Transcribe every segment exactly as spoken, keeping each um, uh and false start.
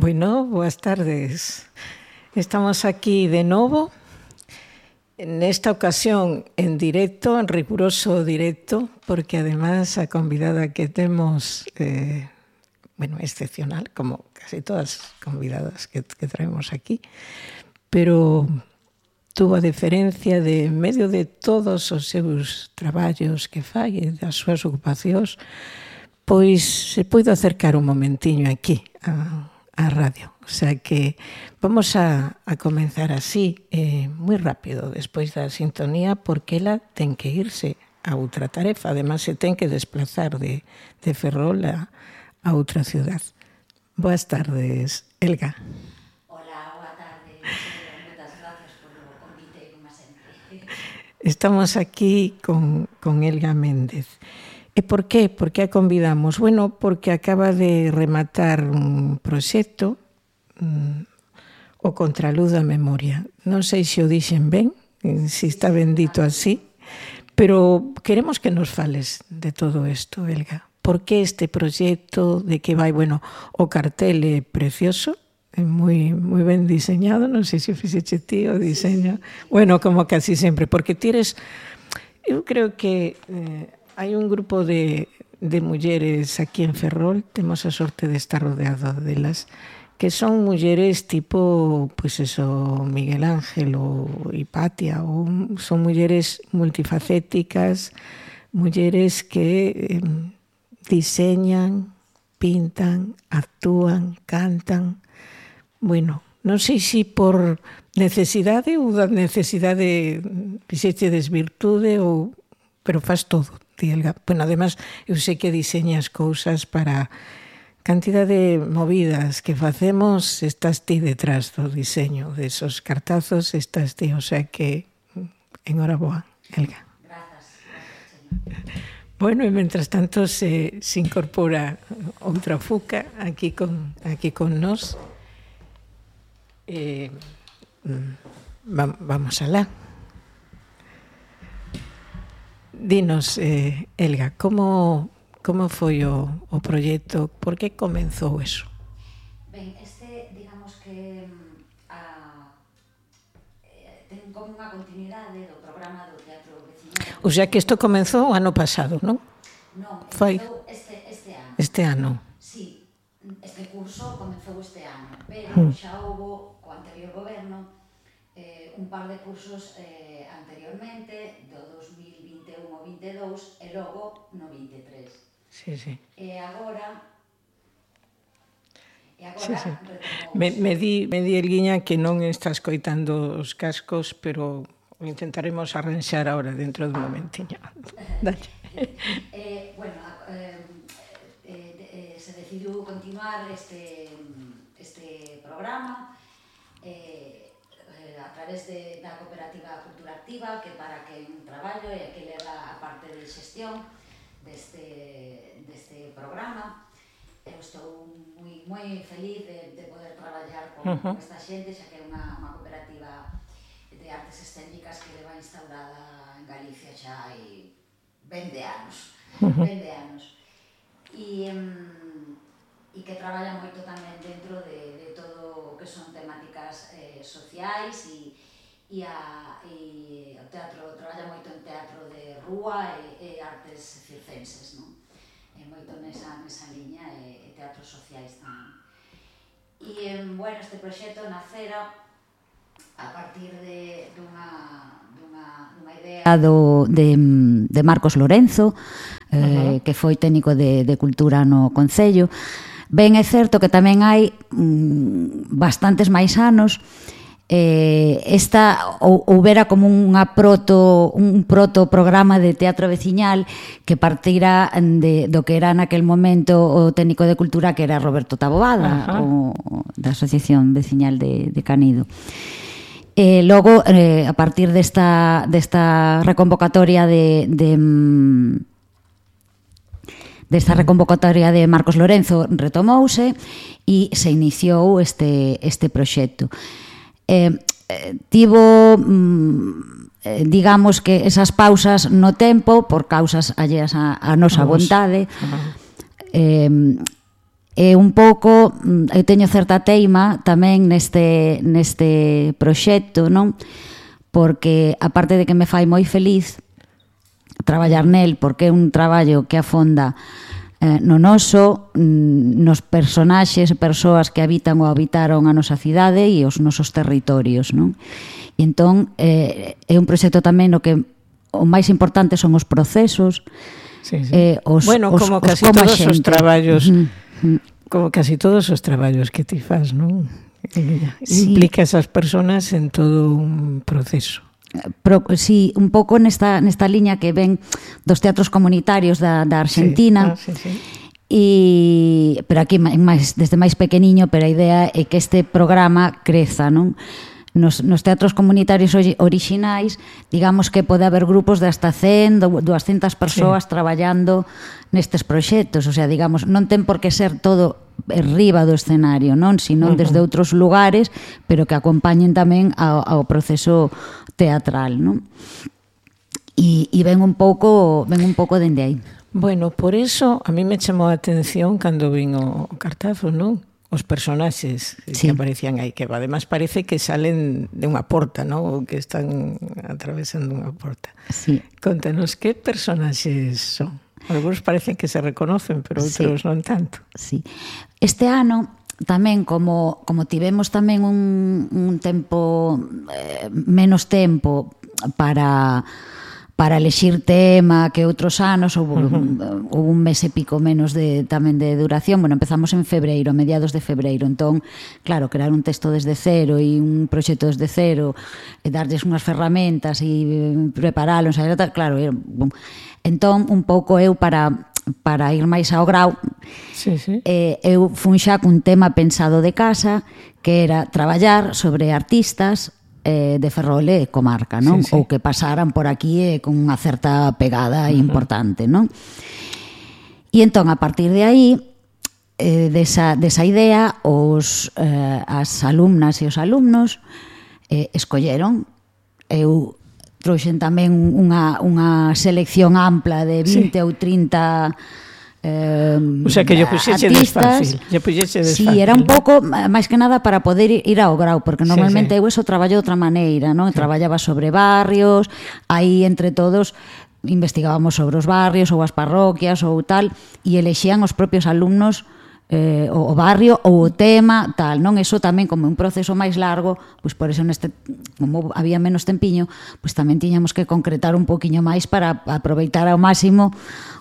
Bueno, boas tardes. Estamos aquí de novo, en esta ocasión en directo, en riguroso directo, porque además a convidada que temos, eh, bueno, excepcional, como casi todas as convidadas que, que traemos aquí, pero tuvo a diferencia de, en medio de todos os seus traballos que fai e das súas ocupacións, pois se puido acercar un momentiño aquí a, a radio. O sea que vamos a, a comenzar así, eh, moi rápido, despois da sintonía, porque ela ten que irse a outra tarefa. Además, se ten que desplazar de, de Ferrol a, a outra ciudad. Boas tardes, Elga. Hola, boa tarde. Moitas gracias polo convite, como sempre. Estamos aquí con, con Elga Méndez. E por qué? Por que a convidamos? Bueno, porque acaba de rematar un proxecto, um, o Contraluz da Memoria. Non sei se o dixen ben, se está ben dito así, pero queremos que nos fales de todo isto, Elga. Por que este proxecto, de que vai, bueno, o cartel é precioso, é moi, moi ben diseñado, non sei se o fixeche ti o diseño. Bueno, como casi sempre, porque tires, eu creo que eh, hai un grupo de, de mulleres aquí en Ferrol, temos a sorte de estar rodeado delas, que son mulleres tipo, pois pues eso, Miguel Ángel ou Hipatia, ou son mulleres multifacéticas, mulleres que eh, diseñan, pintan, actúan, cantan. Bueno, non sei se por necesidade ou da necesidade fixeche desvirtude ou, pero faz todo, ti, Elga. Bueno, además, eu sei que diseñas cousas para cantidad de movidas que facemos, estás ti detrás do diseño de esos cartazos, estás ti, o sea que enhoraboa, Elga. Grazas, grazas, Bueno, e mentras tanto se, se incorpora outra fuca aquí con, aquí con nós. Eh, va, vamos alá. Dinos, eh, Elga, como, como foi o, o proxecto? Por que comenzou eso? Ben, este, digamos que a, eh, ten como unha continuidade do programa do Teatro Veciñal. O sea que isto comenzou o ano pasado, non? Non, Foi comenzou este, este ano. Este ano. Sí, este curso comenzou este ano, pero Hmm. xa houbo, co anterior goberno, eh, un par de cursos eh, anteriormente, do dos mil vinte e un ao vinte e dous, e logo no vinte e tres. Sí, sí. E agora... E agora Sí, sí. retomou... Me, me, di, me di, Elguiña, que non está escoitando os cascos, pero o intentaremos arranxar ahora dentro dun momentiño. Dalle. eh, bueno, eh, eh, eh, se decidiu continuar este, este programa eh, eh, a través de, da Cooperativa Cultura Activa, que para que un traballo e que leva a parte de xestión deste, deste programa. Eu estou moi, moi feliz de, de poder traballar con, uh-huh. con esta xente, xa que é unha, unha cooperativa de artes escénicas que leva instaurada en Galicia xa hai vinte anos, uh-huh. vinte anos. E, um, e que traballa moito tamén dentro de, de todo o que son temáticas eh, sociais e, e, a, e o teatro, traballa moito en teatro de rúa e, e artes circenses, non? E moito nesa, nesa liña e, e teatros sociais tamén. E, bueno, este proxecto nacera a partir de, dunha, dunha, dunha idea do, de, de Marcos Lorenzo, eh, uh-huh. que foi técnico de, de cultura no Concello. Ben, é certo que tamén hai mm, bastantes máis anos eh, esta ou, houbera como unha proto, un proto programa de teatro veciñal que partira de, do que era naquel momento o técnico de cultura, que era Roberto Taboada, o, da Asociación Veciñal de, de Canido. E logo, eh, a partir desta, desta reconvocatoria de, de desta reconvocatoria de Marcos Lorenzo retomouse e se iniciou este, este proxecto. Eh, eh, tivo, mm, eh, digamos que esas pausas no tempo, por causas alleas a, a nosa vontade, uh-huh. eh, E un pouco, eu teño certa teima tamén neste, neste proxecto, non? Porque, aparte de que me fai moi feliz traballar nel, porque é un traballo que afonda eh, no noso, nos personaxes e persoas que habitan ou habitaron a nosa cidade e os nosos territorios, non? E entón, eh, é un proxecto tamén no que o máis importante son os procesos. Sí, sí. Eh, os, bueno, os, como os, casi como todos os traballos... Uh-huh. Como casi todos os traballos que ti fas, non? Sí. Implica esas personas en todo un proceso. Pro, sí, un pouco nesta, nesta liña que ven dos teatros comunitarios da, da Argentina. Sí, ah, sí, sí. E, pero aquí máis, desde máis pequeniño, pero a idea é que este programa creza, non? Nos, nos teatros comunitarios orixinais, digamos que pode haber grupos de hasta cen, doscientas persoas sí. traballando nestes proxectos, o sea, digamos, non ten por que ser todo arriba do escenario, non? Sino uh-huh. desde outros lugares, pero que acompañen tamén ao, ao proceso teatral, non? E, e ven un pouco, ven un pouco dende aí. Bueno, por eso a mí me chamou a atención cando vin o cartazo, non? Os personaxes sí. que aparecían aí, que además parece que salen de unha porta, ¿no? Ou que están atravesando unha porta. Sí. Contanos, que personaxes son? Algunos parecen que se reconocen, pero outros sí. non tanto. Sí. Este ano tamén, como, como tivemos tamén un, un tempo, eh, menos tempo para... para elexir tema que outros anos, houve uh-huh. un, un mes e pico menos de, tamén de duración. Bueno, empezamos en febreiro, a mediados de febreiro. Entón, claro, crear un texto desde cero e un proxecto desde cero, e darlles unhas ferramentas e preparalo, claro, era, bom. Entón, un pouco eu para para ir máis ao grau, sí, sí. Eh, eu fun xa cun tema pensado de casa, que era traballar sobre artistas eh, de Ferrol e comarca, non? Sí, sí. Ou que pasaran por aquí eh, con unha certa pegada uh-huh. importante, non? E entón, a partir de aí, eh, desa, desa idea, os, eh, as alumnas e os alumnos eh, escolleron. Eu trouxen tamén unha, unha selección ampla de vinte sí. ou trinta Eh, o sea que yo puxeche desfácil, yo puxeche desfácil. Sí, era un pouco máis que nada para poder ir ao grau, porque normalmente sí, sí. eu eso traballo de outra maneira, non? Sí. Traballaba sobre barrios, aí entre todos investigábamos sobre os barrios ou as parroquias ou tal, e elexían os propios alumnos eh, o barrio ou o tema, tal, non? Eso tamén como un proceso máis largo, pois por eso neste, como había menos tempiño, pois tamén tiñamos que concretar un poquinho máis para aproveitar ao máximo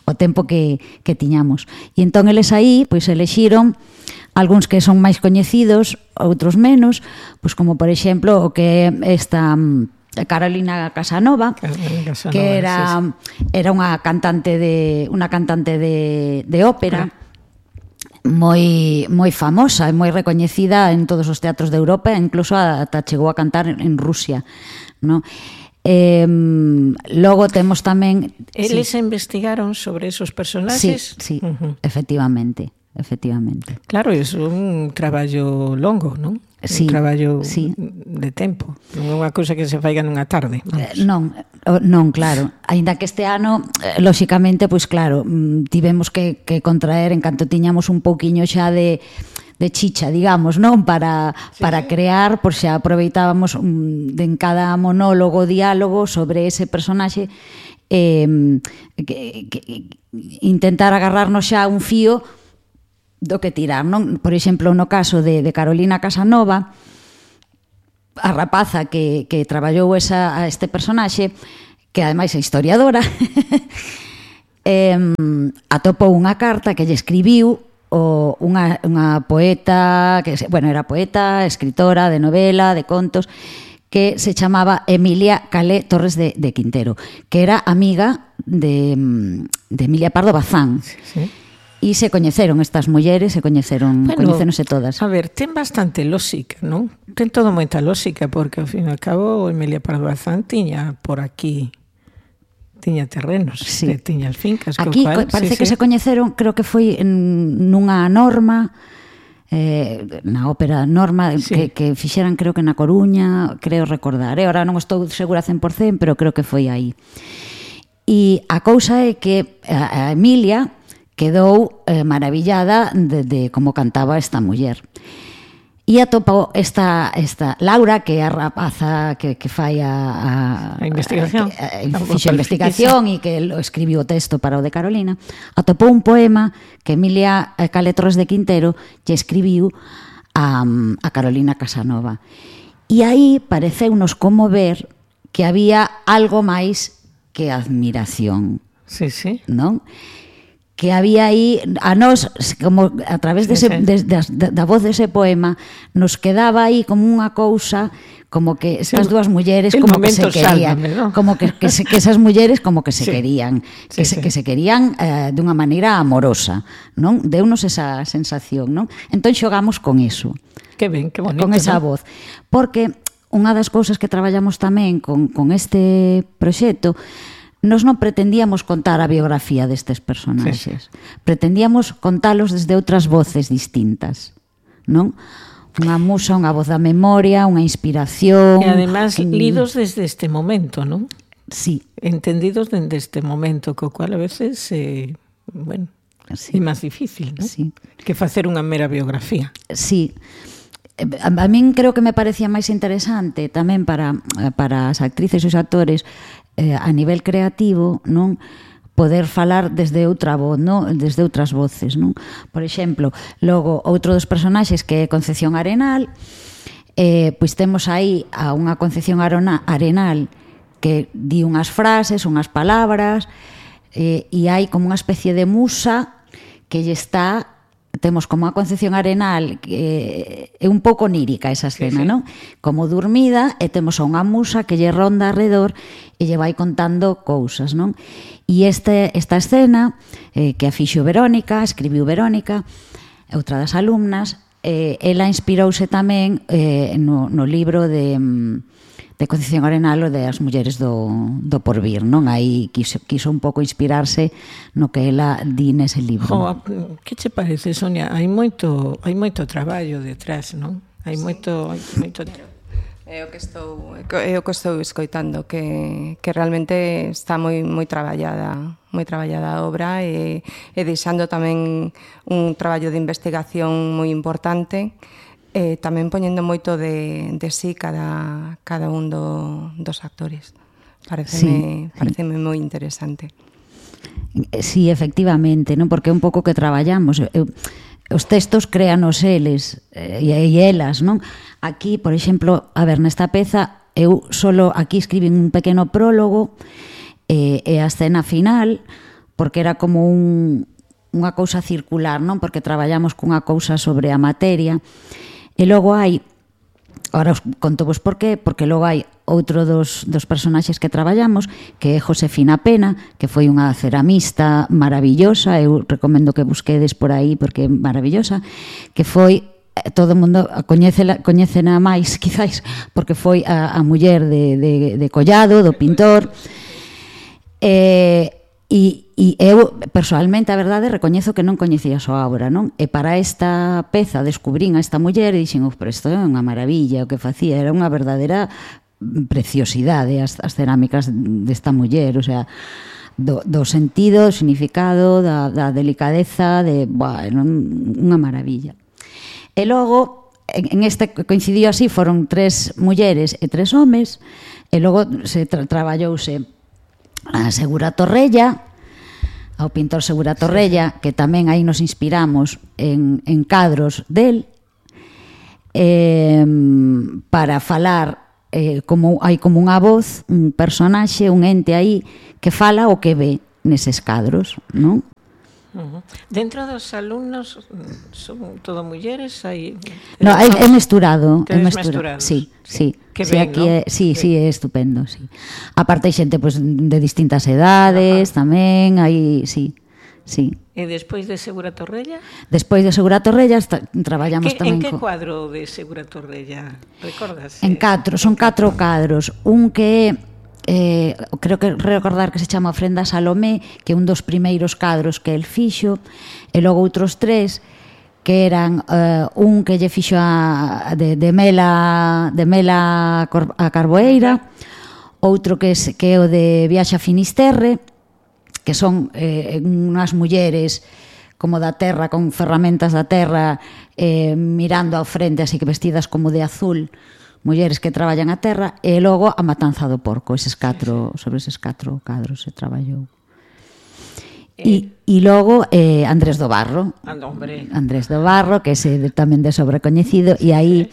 o tempo que, que tiñamos. E entón eles aí, pois elexiron algúns que son máis coñecidos, outros menos, pois como por exemplo o que esta Carolina Casanova, Carolina Casanova que era sí, sí. era unha cantante de unha cantante de, de ópera. Claro. moi moi famosa e moi recoñecida en todos os teatros de Europa, incluso ata chegou a cantar en Rusia, ¿no? Eh, logo temos tamén eles sí. investigaron sobre esos personaxes. Sí, sí, uh-huh. efectivamente, efectivamente. Claro, é un traballo longo, non? Sí, un traballo sí. de tempo, non é unha cousa que se faiga nunha tarde. Eh, non, non, claro. Aínda que este ano, eh, lóxicamente, pois claro, tivemos que, que contraer en canto tiñamos un pouquiño xa de de chicha, digamos, non? Para, sí, para sí. crear, por xa aproveitábamos um, en cada monólogo, diálogo sobre ese personaxe, eh, que, que, intentar agarrarnos xa un fío do que tirar, non? Por exemplo, no caso de, de Carolina Casanova, a rapaza que, que traballou esa, a este personaxe, que ademais é historiadora, eh, atopou unha carta que lle escribiu o unha, unha poeta, que bueno, era poeta, escritora de novela, de contos, que se chamaba Emilia Calé Torres de, de Quintero, que era amiga de, de Emilia Pardo Bazán. Sí, sí. E se coñeceron estas mulleres, se coñeceron, bueno, coñeceronse todas. A ver, ten bastante lógica, non? Ten todo moita lógica, porque ao fin e ao cabo Emilia Pardo Bazán tiña por aquí, tiña terrenos, sí. tiña as fincas. Aquí cual, parece sí, que sí. se coñeceron, creo que foi en, nunha norma, eh, na ópera Norma, sí. que, que fixeran creo que na Coruña, creo recordar. Eh? Ahora non estou segura cen por cento, pero creo que foi aí. E a cousa é que a, a Emilia, quedou eh, maravillada de, de como cantaba esta muller. E atopou esta, esta Laura, que é a rapaza que, que fai a, a, a investigación, a, a, a, fixo a investigación e que lo escribiu o texto para o de Carolina, atopou un poema que Emilia Cale Torres de Quintero lle escribiu a, a Carolina Casanova. E aí pareceunos como ver que había algo máis que admiración. Sí, sí. Non? Que había aí, a nós, como a través dese, sí, sí. De, de, de, da voz dese poema, nos quedaba aí como unha cousa, como que estas dúas mulleres como que se querían, sálvame, ¿no? Como que, que, se, que esas mulleres como que se sí. querían, que, sí, se, sí. que se querían eh, dunha maneira amorosa, non? Deunos esa sensación, non? Entón xogamos con eso. Que ben, que bonito, con esa ¿no? voz. Porque unha das cousas que traballamos tamén con, con este proxecto, nos non pretendíamos contar a biografía destes personaxes. Sí. Pretendíamos contalos desde outras voces distintas, non? Unha musa, unha voz da memoria, unha inspiración... E además un... lidos desde este momento, non? Sí. Entendidos desde este momento, co cual a veces, eh, bueno, sí. é máis difícil, non? Sí. Que facer unha mera biografía. Sí. A, a min creo que me parecía máis interesante tamén para, para as actrices e os actores eh, a nivel creativo, non, poder falar desde outra voz, non, desde outras voces, non? Por exemplo, logo outro dos personaxes que é Concepción Arenal, eh, pois temos aí a unha Concepción Arenal que di unhas frases, unhas palabras, eh, e hai como unha especie de musa que lle está... Temos como a Concepción Arenal, que é un pouco onírica esa escena, sí, sí. non? Como dormida, e temos a unha musa que lle ronda alrededor e lle vai contando cousas, non? E este, esta escena, eh, que a fixo Verónica, escribiu Verónica, outra das alumnas, eh, ela inspirouse tamén eh, no, no libro de... de Concepción Arenal o de as mulleres do, do porvir, non? Aí quiso, quiso un pouco inspirarse no que ela di nese libro. Jo, que che parece, Sonia? Hai moito, hai moito traballo detrás, non? Hai moito, hai moito... É o que estou, é o que estou escoitando, que, que realmente está moi moi traballada, moi traballada a obra e, e deixando tamén un traballo de investigación moi importante. E tamén poñendo moito de, de sí cada, cada un do, dos actores. Pareceme, sí, pareceme sí. moi interesante. Sí, efectivamente, non? Porque é un pouco que traballamos. Eu, os textos créanos eles e, e elas, non? Aquí, por exemplo, a ver, nesta peza, eu solo aquí escribín un pequeno prólogo e, e a escena final, porque era como un, unha cousa circular, non? Porque traballamos cunha cousa sobre a materia. E logo hai, agora os conto vos por qué, porque logo hai outro dos, dos personaxes que traballamos, que é Josefina Pena, que foi unha ceramista maravillosa, eu recomendo que busquedes por aí porque é maravillosa, que foi, todo o mundo coñécela, coñécena máis, quizáis, porque foi a, a muller de, de, de Collado, do pintor, e... E, e eu, personalmente, a verdade, recoñezo que non coñecía a súa obra, non? E para esta peza descubrín a esta muller e dixen, oh, pero isto é unha maravilla, o que facía era unha verdadeira preciosidade as, as cerámicas desta muller, o sea, do, do sentido, do significado, da, da delicadeza, de, buah, unha maravilla. E logo, en, en este coincidiu así, foron tres mulleres e tres homes, e logo se tra traballouse a Segura Torrella, ao pintor Segura Torrella, que tamén aí nos inspiramos en, en cadros del, eh, para falar, eh, como hai como unha voz, un personaxe, un ente aí, que fala o que ve neses cadros, non? Uh-huh. Dentro dos alumnos son todo mulleres, hai no, é, é mesturado, é mesturado. Sí, sí. Que sí, ben, aquí ¿no? é, sí, sí, é estupendo, sí. Aparte hai xente pues, de distintas edades, ajá, tamén, hai, sí, sí. E despois de Segura Torrella? Despois de Segura Torrella está, traballamos que, tamén. En que co... cuadro de Segura Torrella? Recordas? En catro, son catro cadros. Un que é Eh, creo que recordar que se chama Ofrenda a Salomé, que é un dos primeiros cadros que el fixo, e logo outros tres que eran eh, un que lle fixo a, de, de Mela de Mela a Carboeira, outro que, es, que é o de Viaxe a Finisterre, que son eh, unhas mulleres como da terra, con ferramentas da terra, eh, mirando ao frente, así que vestidas como de azul, mulleres que traballan a terra, e logo a matanza do porco, eses catro, sobre eses catro cadros se traballou. E, e logo eh, Andrés do Barro, Andrés do Barro, que é tamén de sobrecoñecido, e aí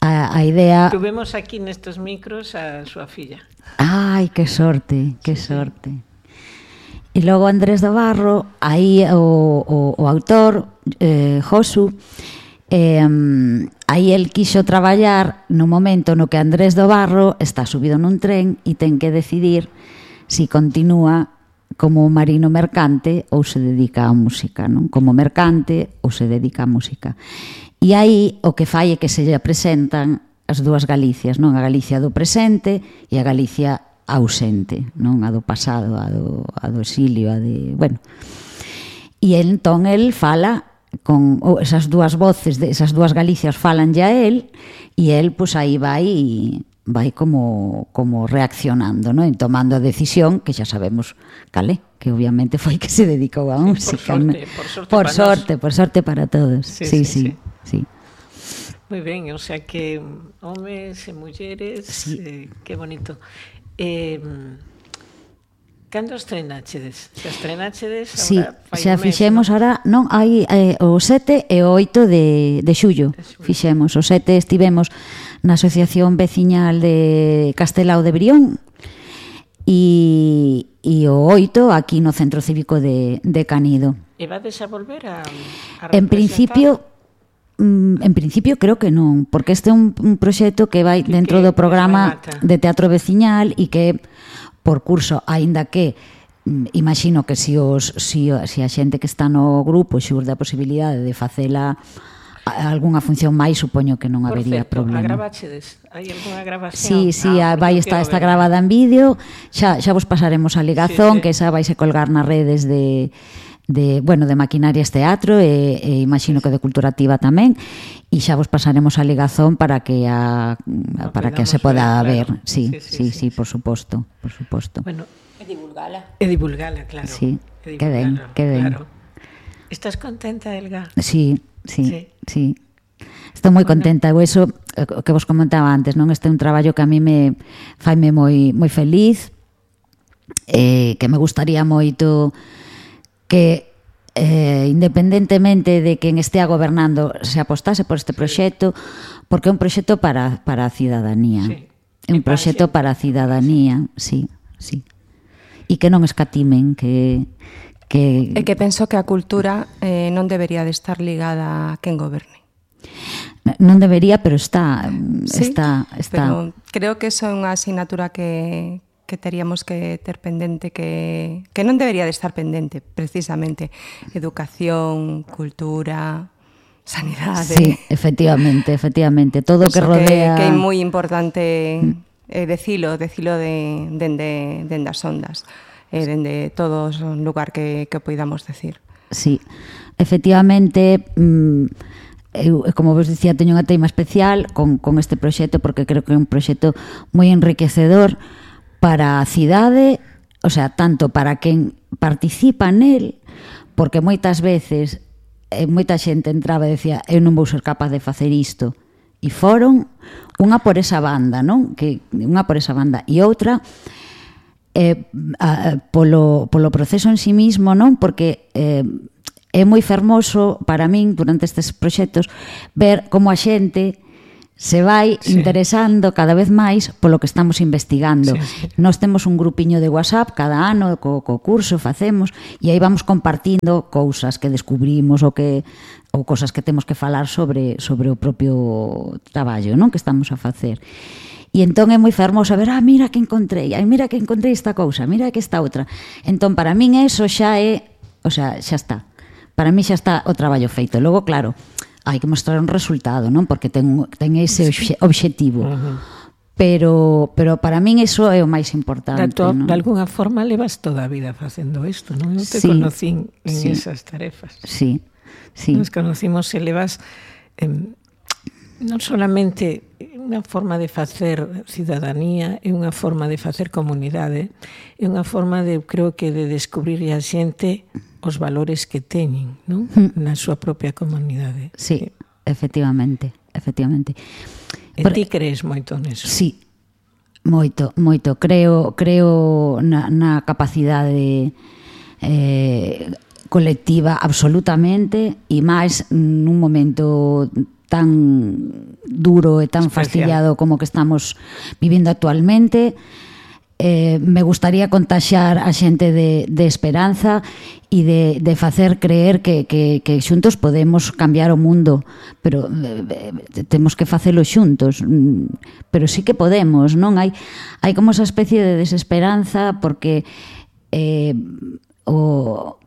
a, a idea... Tuvemos aquí nestes micros a súa filla. Ai, que sorte, que sorte. E logo Andrés do Barro, aí o, o, o autor, eh, Josu, eh, aí el quixo traballar no momento no que Andrés do Barro está subido nun tren e ten que decidir si continúa como marino mercante ou se dedica á música, non? Como mercante ou se dedica á música. E aí o que fai é que se lle presentan as dúas Galicias, non? A Galicia do presente e a Galicia ausente, non? A do pasado, a do, a do exilio, a de... Bueno. E entón el fala con esas dúas voces, de esas dúas Galicias falan ya él, e el, pois, aí vai vai como como reaccionando, non? E tomando a decisión que xa sabemos calé, que obviamente foi que se dedicou á música. Sí, por sorte, por sorte, por sorte para todos. Sí, sí, sí, sí. sí. sí. Moi ben, o sea que homes e mulleres, sí. eh, que bonito. Eh, cando estrenachedes? Se estrenachedes sí, agora fai xa un mes, fixemos ¿no? ahora, non, hai eh, o sete e o oito de, de xullo, de xullo. Fixemos, o sete estivemos na Asociación Veciñal de Castelao de Brión e, e o oito aquí no Centro Cívico de, de Canido. E vades a volver a, a En principio, en principio creo que non, porque este é un, un proxecto que vai dentro que do programa remata. de teatro veciñal e que por curso, aínda que imagino que se os si, si a xente que está no grupo xurde a posibilidade de facela algunha función máis, supoño que non Por habería certo, problema. agravachedes? Hai algunha grabación? Sí, sí, ah, vai estar está gravada en vídeo. Xa xa vos pasaremos a ligazón, sí, sí. Que esa vais a colgar nas redes de de, bueno, de Maquinarias Teatro e, e imagino que de Cultura Activa tamén, e xa vos pasaremos a ligazón para que a no, para que se poda ver, claro. Sí, sí, sí, sí, sí, sí, por suposto, por suposto. Bueno, e divulgala. E divulgala, claro. Sí, e que ben, que ben. Claro. Estás contenta, Elga? Sí, sí, sí. sí. Estou moi Bueno. contenta, eu eso o que vos comentaba antes, non? Este é un traballo que a mí me faime moi moi feliz, eh, que me gustaría moito que eh, independentemente de quen estea gobernando se apostase por este proxecto, porque é un proxecto para, para a cidadanía. Sí. É un proxecto para a cidadanía, sí, sí. E que non escatimen, que... que... E que penso que a cultura eh, non debería de estar ligada a quen goberne. Non debería, pero está, sí, está, está. Pero creo que eso é unha asignatura que, que teríamos que ter pendente, que, que non debería de estar pendente, precisamente. Educación, cultura, sanidade. Sí, efectivamente, efectivamente. Todo o que rodea... Que, que é moi importante eh, decilo, decilo de, dende, dende as ondas, eh, dende todo o lugar que, que poidamos decir. Sí, efectivamente... Mmm, eu, como vos dicía, teño unha teima especial con, con este proxecto porque creo que é un proxecto moi enriquecedor para a cidade, o sea, tanto para quen participa nel, porque moitas veces eh, moita xente entraba e decía eu non vou ser capaz de facer isto, e foron unha por esa banda, non? Que unha por esa banda e outra eh, a, polo, polo proceso en sí mismo, non? Porque eh, é moi fermoso para min durante estes proxectos ver como a xente se vai sí. interesando cada vez máis polo que estamos investigando. Sí, sí. Nós temos un grupiño de WhatsApp cada ano co, co curso facemos e aí vamos compartindo cousas que descubrimos ou que ou cousas que temos que falar sobre sobre o propio traballo, non, que estamos a facer. E entón é moi fermoso ver, ah, mira que encontrei, ai, mira que encontrei esta cousa, mira que esta outra. Entón, para min eso xa é, o sea, xa está. Para mí xa está o traballo feito. Logo, claro, hai que mostrar un resultado, non? Porque ten, ten ese obxe, obxectivo. Uh-huh. Pero, pero para min iso é o máis importante. De, to, non? de alguna forma levas toda a vida facendo isto, non? Eu te sí, conocín en sí, esas tarefas. Sí, sí. Nos conocimos e levas eh, non solamente unha forma de facer cidadanía, é unha forma de facer comunidade, é unha forma de, creo que, de descubrir a xente os valores que teñen, non? Mm. Na súa propia comunidade. Sí, efectivamente, efectivamente. E ti crees moito neso? Sí, moito, moito. Creo, creo na, na capacidade eh, colectiva absolutamente, e máis nun momento tan duro e tan fastidiado como que estamos vivindo actualmente. Eh, me gustaría contaxar a xente de, de esperanza e de, de facer creer que, que, que xuntos podemos cambiar o mundo, pero eh, temos que facelo xuntos, pero sí que podemos, non? Hai, hai como esa especie de desesperanza porque eh, o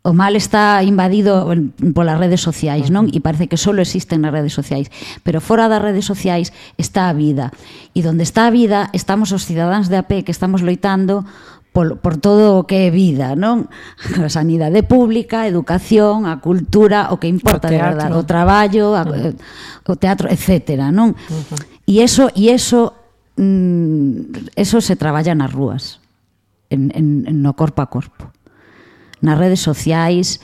o mal está invadido polas redes sociais, non? E parece que só existen nas redes sociais, pero fora das redes sociais está a vida, e donde está a vida estamos os cidadáns de a pé que estamos loitando por, por todo o que é vida, non? A sanidade pública, a educación, a cultura, o que importa de verdade, o traballo, a, o teatro, etcétera, non? Uh-huh. E eso, e eso, mm, eso se traballa nas rúas, en, en, no corpo a corpo. Nas redes sociais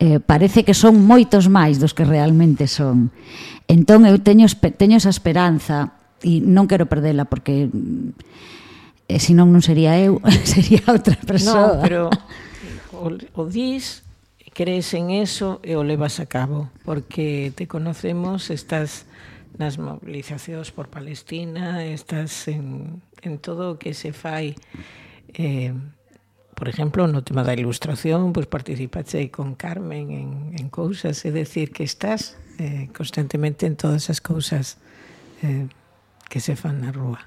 eh, parece que son moitos máis dos que realmente son. Entón eu teño, teño esa esperanza e non quero perdela porque eh, senón non sería eu, sería outra persoa. Non, pero o, o dis, crees en eso e o levas a cabo, porque te conocemos, estás nas movilizacións por Palestina, estás en, en todo o que se fai. Eh, por exemplo, no tema da ilustración, pues participaste con Carmen en, en cousas, é decir, que estás eh, constantemente en todas as cousas eh, que se fan na rúa.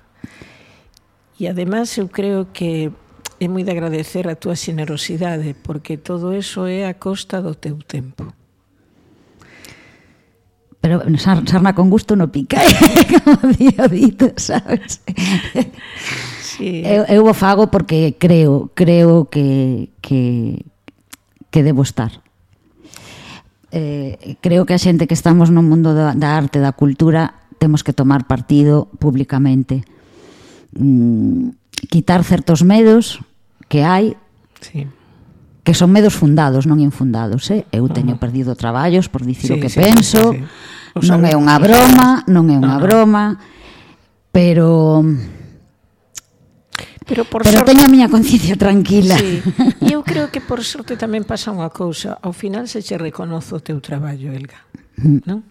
E ademais eu creo que é moi de agradecer a túa xenerosidade, porque todo eso é a costa do teu tempo. Pero sarna con gusto no pica, como digo dito, sabes? Sí. Eu, eu o fago porque creo, creo que, que, que debo estar. Eh, creo que a xente que estamos no mundo da, da arte, da cultura, temos que tomar partido públicamente. Mm, quitar certos medos que hai, sí, que son medos fundados, non infundados, eh? Eu teño uh-huh. perdido traballos por dicir sí, o que sí, penso, sí, sí. non é unha broma, non é unha no, broma, pero pero, por pero sorte, teño a miña conciencia tranquila. Sí. E eu creo que por sorte tamén pasa unha cousa, ao final se che reconoce o teu traballo, Elga, mm. non?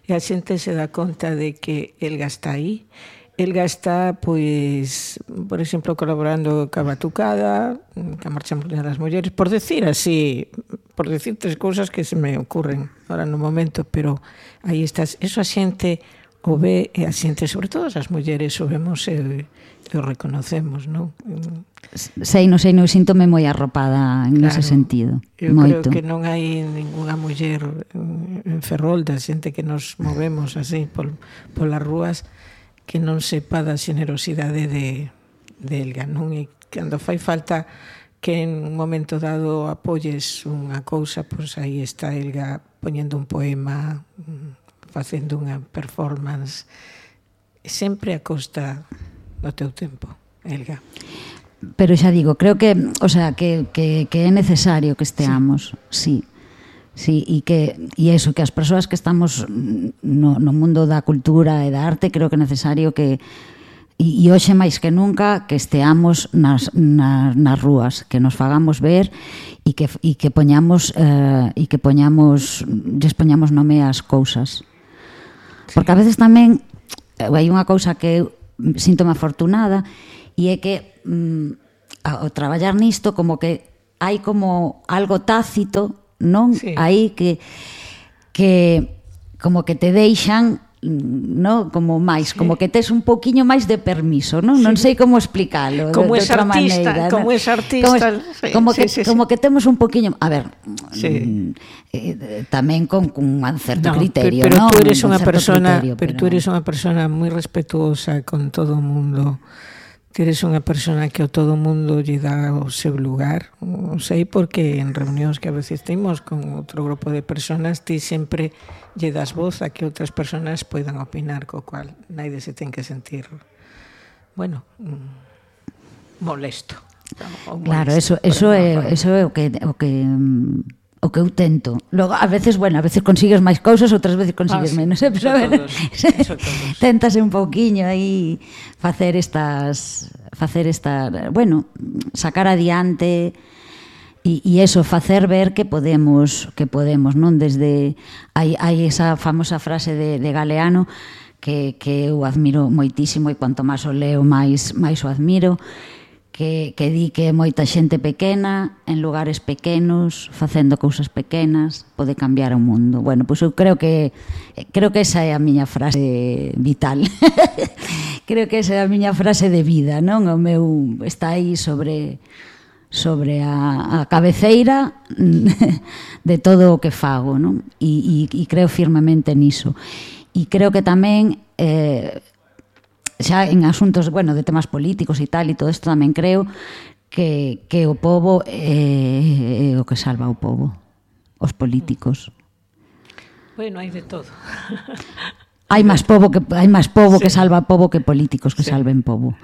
E a xente se dá conta de que Elga está aí. Elga está, pois, por exemplo, colaborando ca Batucada, ca Marcha Mundial das Mulleres, por decir así, por decir tres cousas que se me ocurren ahora no momento, pero aí estás. Eso a xente o ve, e a xente, sobre todo as mulleres, o vemos e, e o reconocemos, non? Sei, non sei, non síntome moi arropada en claro, ese sentido. Eu moito. creo que non hai ninguna muller en Ferrol, da xente que nos movemos así por, polas rúas, que non sepa da xenerosidade de, de Elga, non? E cando fai falta que en un momento dado apoyes unha cousa, pois aí está Elga poñendo un poema, facendo unha performance, sempre a costa do teu tempo, Elga. Pero xa digo, creo que, o sea, que, que, que é necesario que esteamos, sí. Sí, e que e eso, que as persoas que estamos no, no mundo da cultura e da arte, creo que é necesario que e, e hoxe máis que nunca que esteamos nas, nas, nas rúas, que nos fagamos ver e que, e que poñamos eh, e que poñamos lles poñamos nome ás cousas. Porque a veces tamén hai unha cousa que eu síntome afortunada e é que mm, ao traballar nisto como que hai como algo tácito, non? Sí. Aí que que como que te deixan, no, como máis, sí. como que tes un poquiño máis de permiso, non? Sí. Non sei como explicalo. Como de, es artista, maneira, como ¿no? es artista, como, sí, como que sí, sí, como sí. que temos un poquiño, a ver, sí. eh, tamén con, con un certo no, criterio, pero, pero ¿no? tú eres unha persona, criterio, pero, pero tú eres unha persona moi respetuosa con todo o mundo. Ti eres unha persona que a todo o mundo lle dá o seu lugar. Non sei porque en reunións que a veces temos con outro grupo de personas ti sempre lle das voz a que outras personas poidan opinar, co cual naide se ten que sentir, bueno, molesto. Claro, eso, eso, é, eso é o que... O que o que eu tento. Logo, a veces, bueno, a veces consigues máis cousas, outras veces consigues ah, menos, eh? Pero, bueno, téntase un pouquiño aí facer estas facer esta, bueno, sacar adiante e, e eso, facer ver que podemos, que podemos, non? Desde hai, hai esa famosa frase de, de Galeano que, que eu admiro moitísimo e cuanto máis o leo, máis, máis o admiro, que, que di que moita xente pequena, en lugares pequenos, facendo cousas pequenas, pode cambiar o mundo. Bueno, pois eu creo que creo que esa é a miña frase vital. Creo que esa é a miña frase de vida, non? O meu está aí sobre sobre a, a cabeceira de todo o que fago, non? E, e, e creo firmemente niso. E creo que tamén eh, xa en asuntos, bueno, de temas políticos e tal, e todo isto tamén creo que, que o pobo é, é o que salva o pobo, os políticos. Bueno, hai de todo. Hai máis pobo que hai máis pobo sí. que salva pobo que políticos que sí. salven pobo.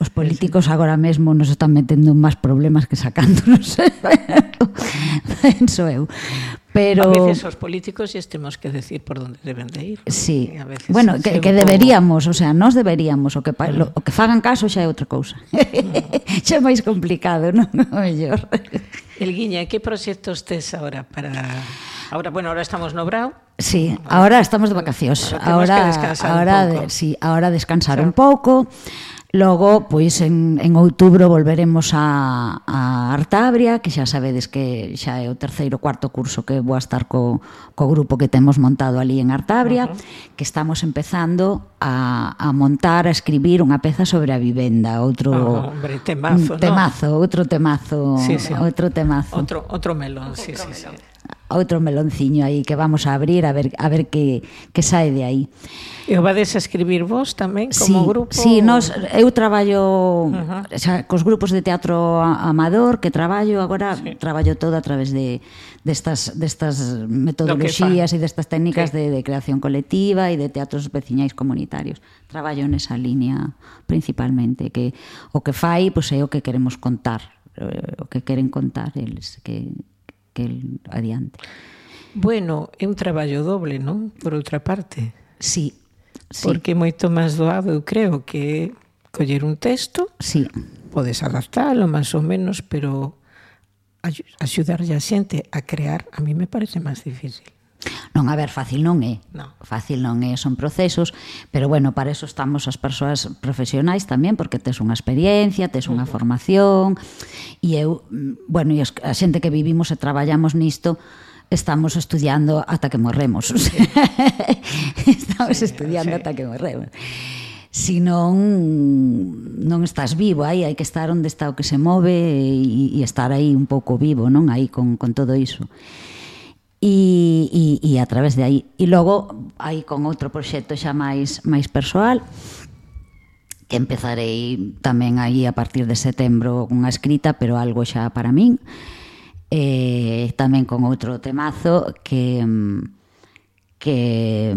Os políticos agora mesmo nos están metendo máis problemas que sacándonos. Penso eu. Pero a veces os políticos e temos que decir por onde deben de ir. Sí. Bueno, que, que deberíamos, o sea, nós deberíamos, o que mm. lo, o que fagan caso xa é outra cousa. Mm. Xa é máis complicado, non? O mellor. Elguiña, que proxectos tes agora para Ahora, bueno, ahora estamos no Brao. Sí, ahora estamos de vacacións. Ahora, ahora, ahora sí, ahora descansar un pouco. Logo, pois, en, en outubro volveremos a, a Artabria, que xa sabedes que xa é o terceiro, cuarto curso que vou a estar co, co grupo que temos montado ali en Artabria, uh-huh. que estamos empezando a, a montar, a escribir unha peza sobre a vivenda, outro oh, hombre, temazo, temazo, ¿no? outro temazo, sí, sí. outro temazo. Outro, outro melón, sí, sí, sí. Outro melonciño aí que vamos a abrir a ver a ver que, que sae de aí. E o vades a escribir vos tamén como sí, grupo? Sí, nos, eu traballo uh-huh. xa, cos grupos de teatro amador que traballo agora, sí. traballo todo a través de destas, destas metodoloxías e destas técnicas sí. de, de creación colectiva e de teatros veciñais comunitarios. Traballo nesa línea principalmente, que o que fai pois, é o que queremos contar, o que queren contar eles, que que el adiante. Bueno, é un traballo doble, non? Por outra parte. Sí, sí. Porque é moito máis doado, eu creo, que coller un texto, sí. podes adaptalo máis ou menos, pero axudarlle a xente a crear, a mí me parece máis difícil. Non, a ver, fácil non é. No. Fácil non é, son procesos, pero bueno, para eso estamos as persoas profesionais tamén, porque tes unha experiencia, tes unha formación, e eu, bueno, e a xente que vivimos e traballamos nisto, estamos estudiando ata que morremos. Sí. Estamos sí, estudiando sí. ata que morremos. Si non, non estás vivo, aí hai que estar onde está o que se move e, e estar aí un pouco vivo, non? Aí con, con todo iso. E, e, e a través de aí. E logo, aí con outro proxecto xa máis, máis persoal, que empezarei tamén aí a partir de setembro unha escrita, pero algo xa para min. E tamén con outro temazo que, que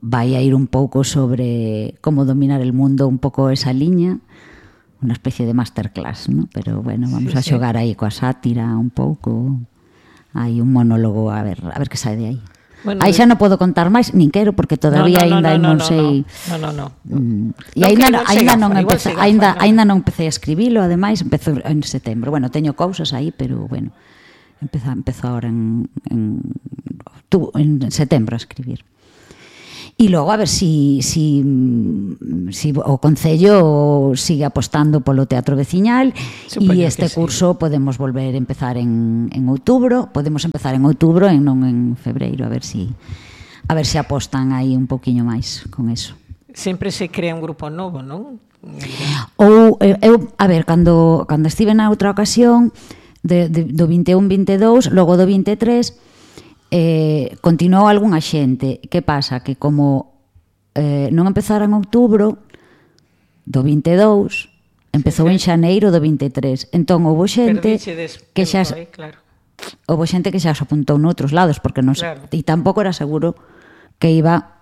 vai a ir un pouco sobre como dominar el mundo, un pouco esa liña, unha especie de masterclass, ¿no? Pero bueno, vamos sí, a xogar sí. aí coa sátira un pouco. Hai un monólogo, a ver, a ver que sae de aí. Bueno, aí xa non podo contar máis, nin quero, porque todavía no, no, aínda no, no, non no, sei. No, no, no. Mm, e aínda aínda non empecé, aínda aínda non empecé a escribilo, ademais empezo en setembro. Bueno, teño cousas aí, pero bueno, empezo empezo agora en en tu en setembro a escribir. E logo a ver si, si, si o Concello sigue apostando polo teatro veciñal e este curso sí. podemos volver a empezar en, en outubro, podemos empezar en outubro e non en febreiro, a ver si a ver si apostan aí un poquinho máis con eso. Sempre se crea un grupo novo, non? Ou eu, a ver, cando cando estive na outra ocasión de, de, do vinte e un vinte e dous, logo do vinte e tres Eh, continuou algunha xente. Que pasa? Que como eh, non empezara en outubro do vinte e dous, empezou sí, sí. en xaneiro do vinte e tres. Entón houve xente que xa eh, claro. houve xente que xa se apuntou noutros lados, porque non claro. e tampouco era seguro que iba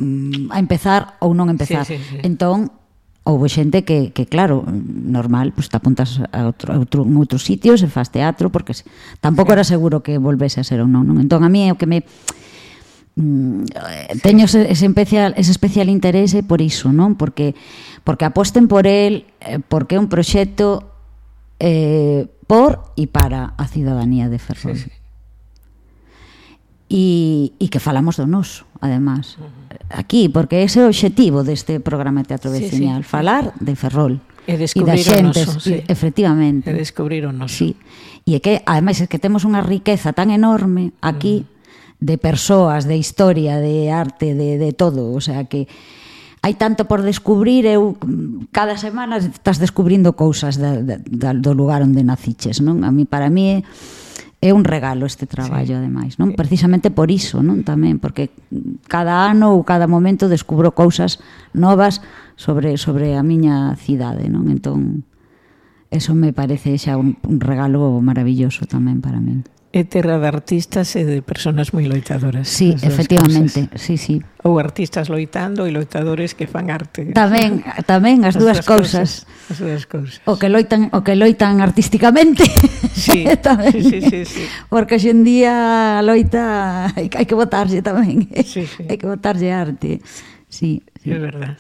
mm, a empezar ou non empezar. Sí, sí, sí. Entón houve xente que, que claro, normal, pues te apuntas a outro, a outro, en outros sitios e faz teatro, porque tampouco sí. era seguro que volvese a ser ou non, non? Entón, a mí é o que me... Mm, teño ese, ese, especial, ese especial interese por iso, non? Porque, porque aposten por el, porque é un proxecto eh, por e para a cidadanía de Ferrol. Sí, sí. E, e que falamos do noso, además, aquí, porque ese é o obxectivo deste programa de teatro veciñal, sí, sí. falar de Ferrol e descubrir o noso, sí. efectivamente. E descubrir o noso. Sí. E é que, ademais, é que temos unha riqueza tan enorme aquí mm. de persoas, de historia, de arte, de, de todo, o sea que hai tanto por descubrir, eu cada semana estás descubrindo cousas da, da, do lugar onde naciches, non? A mí, para mí é é un regalo este traballo, sí. ademais, non? Precisamente por iso, non? Tamén, porque cada ano ou cada momento descubro cousas novas sobre sobre a miña cidade, non? Entón, eso me parece xa un, un regalo maravilloso tamén para min. É terra de artistas e de personas moi loitadoras. Sí, efectivamente, sí, sí. Ou artistas loitando e loitadores que fan arte. Tamén, tamén as, as dúas cousas. As dúas cousas. O que loitan, o que loitan artísticamente. Sí, tamén. sí, sí, sí, sí. Porque hoxe en día a loita hai, hai que botarse tamén. Sí, sí. Hai que botarse arte. Sí, sí. É verdad.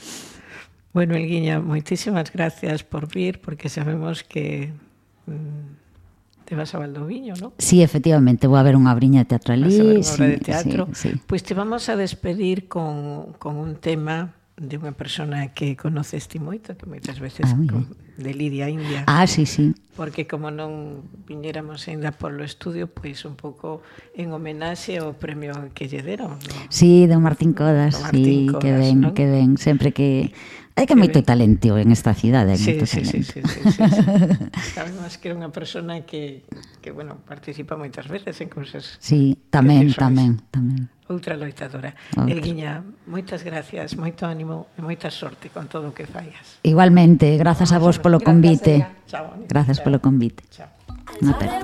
Bueno, Elguiña, moitísimas gracias por vir, porque sabemos que mmm, te vas a Valdoviño, ¿no? Sí, efectivamente, vou a ver unha obriña teatral ali. Vas a ver unha obra sí, de teatro. Sí, sí. Pois te vamos a despedir con, con un tema de unha persona que conoces ti moito, que moitas veces ah, con, de Lidia India. Ah, sí, sí. Porque como non viñéramos ainda polo estudio, pois un pouco en homenaxe ao premio que lle deron, ¿no? Sí, do Martín Codas, do Martín sí, Codas, que ven, ¿no? que ven, sempre que hai que moito talento en esta cidade, hai sí, moito sí, talento. Sí, sí, sí, sí, sí. Sabemos que era unha persona que, que bueno, participa moitas veces en cousas. Sí, tamén, tamén, tamén. Outra loitadora. Outra. Elguiña, moitas gracias, moito ánimo e moita sorte con todo o que fallas. Igualmente, grazas a vos polo convite. Chao, grazas polo convite. Chao. Unha pena.